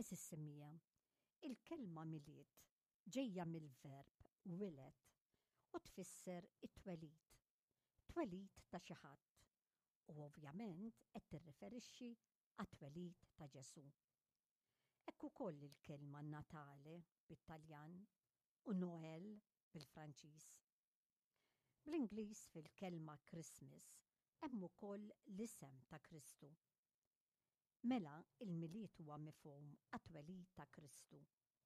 Għeżież semmiegħa, il-kelma Milied ġejja mill-verb wiled u tfisser it-twelid, twelid ta' xi ħadd u ovvjament qed tirriferixxi għat-twelid ta' Ġesù. Hekk ukoll il-kelma Natale bit-Taljan u Noël bil-Franċiż. Bl-Ingliż fil-kelma Christmas hemm ukoll l-isem ta' Kristu. Mela il-Milied huwa mifhum għat-twelid ta' Kristu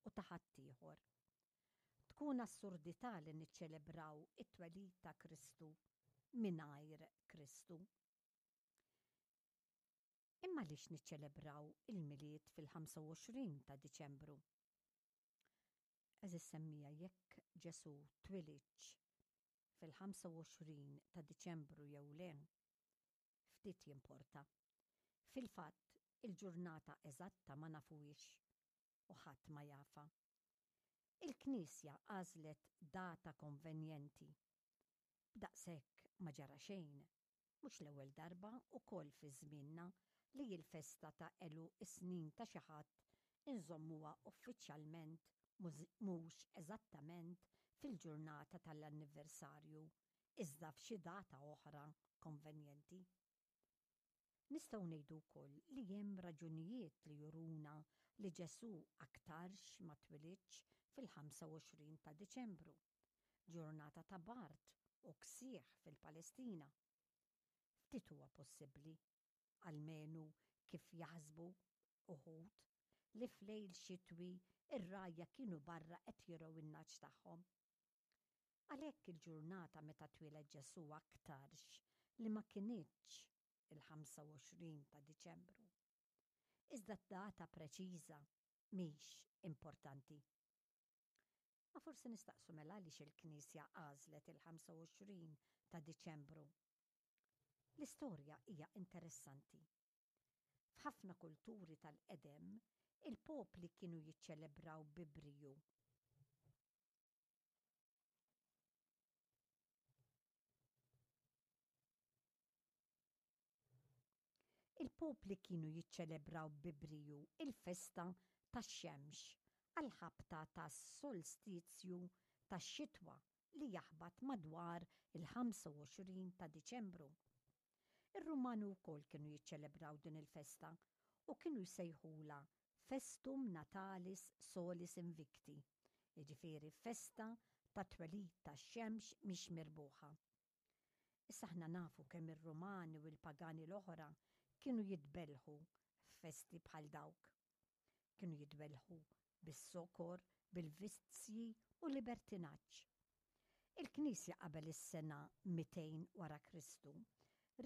u ta' ħaddieħor. Tkun assurdità li niċċelebraw it-twelid ta' Kristu mingħajr Kristu. Imma għaliex niċċelebraw il-Milied fil-25 ta' Diċembru? Għeżież semmiegħa jekk Ġesù twilidx fil-25 ta' Diċembru jew le, ftit jimporta. Fil-fatt, il-ġurnata eżatta ma nafuhiex u ħadd ma jafha. Il-Knisja għażlet data konvenjenti. B'daqshekk ma ġara xejn. Mhux l-ewwel darba ukoll fi żmienna li l-festa ta' għeluq is-snin ta' xi ħadd inżommuha uffiċjalment mhux eżattament fil-ġurnata tal-anniversarju iżda f'xi data oħra konvenjenti. Nistgħu ngħidu wkoll li hemm raġunijiet li juruna li Ġesù aktarx ma twilidx fil-25 ta' Diċembru, ġurnata ta' bard u ksieħ fil-Palestina. Ftit huwa possibbli, almenu kif jaħsbu uħud, li f'lejl xitwi r-rgħajja kienu barra qed jirgħu n-nagħaġ tagħhom. Għalhekk il-ġurnata meta twieled Ġesù aktarx li ma kinitx il-25 ta' Diċembru. Iżda d-data preċiża mhix importanti. Ma forsi nistaqsu mela għaliex il-Knisja għażlet il-25 ta' Diċembru. L-istorja hija interessanti. F'ħafna kulturi tal-qedem, il-popli kienu jiċċelebraw bi briju Il-popli kienu jiċċelebraw bi briju il-festa tax-xemx għall-ħabta tas-solstizju tax-xitwa li jaħbat madwar il-25 ta' Diċembru. Ir-Rumani wkoll kienu jiċċelebraw din il-festa u kienu jsejħulha Festum Natalis Solis Invicti, jiġifieri festa tat-twelid tax-xemx mhix mirbuħa. Issa aħna nafu kemm ir-Rumani u l-pagani l-oħra kienu jitbellħu f'festi bħal dawk. Kienu jitbellħu bis-sokor, bil-vizzji u libertinaġġ. Il-Knisja qabel is-sena 200 wara Kristu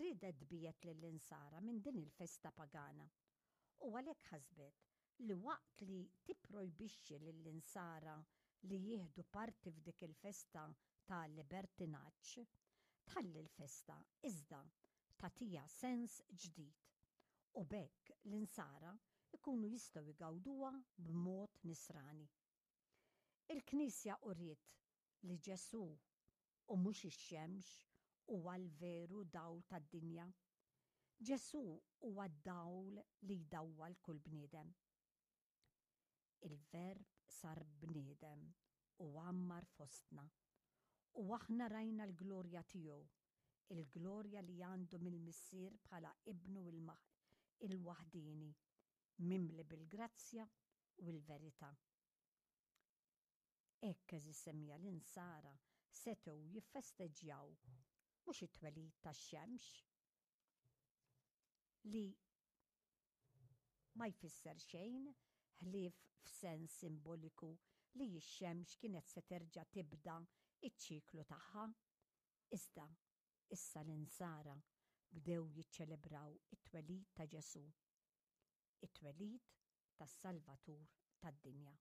riedet tbiegħed lill-Insara minn din il-festa pagana u għalhekk ħasbet li waqt li tipprojbixxi lill-Insara li jieħdu parti f'dik il-festa ta' libertinaġġ, tħalli l-festa iżda tagħtiha sens ġdid u b'hekk l-Insara jkunu jistgħu jgawduha b'mod Nisrani. Il-Knisja uriet li Ġesù, u mhux ix-xemx, huwa l-veru dawl tad-dinja. Ġesù huwa d-dawl li jdawwal kull bniedem. Il-Verb sar bniedem u għammar fostna, u aħna rajna l-glorja tiegħu, il-glorja li għandu mill-Missier bħala Ibnu il-waħdieni, mimli bil-grazzja u l-verità. Hekk għeżież semmiegħa l-Insara setgħu jiffesteġġjaw mhux it-twelid tax-xemx li ma jfisser xejn ħlief f'sens simboliku li x-xemx kienet se terġa' tibda ċ-ċiklu tagħha, iżda issa l-Insara bdew jiċċelebraw it-twelid ta' Ġesù, it-twelid tas-Salvatur tad-dinja.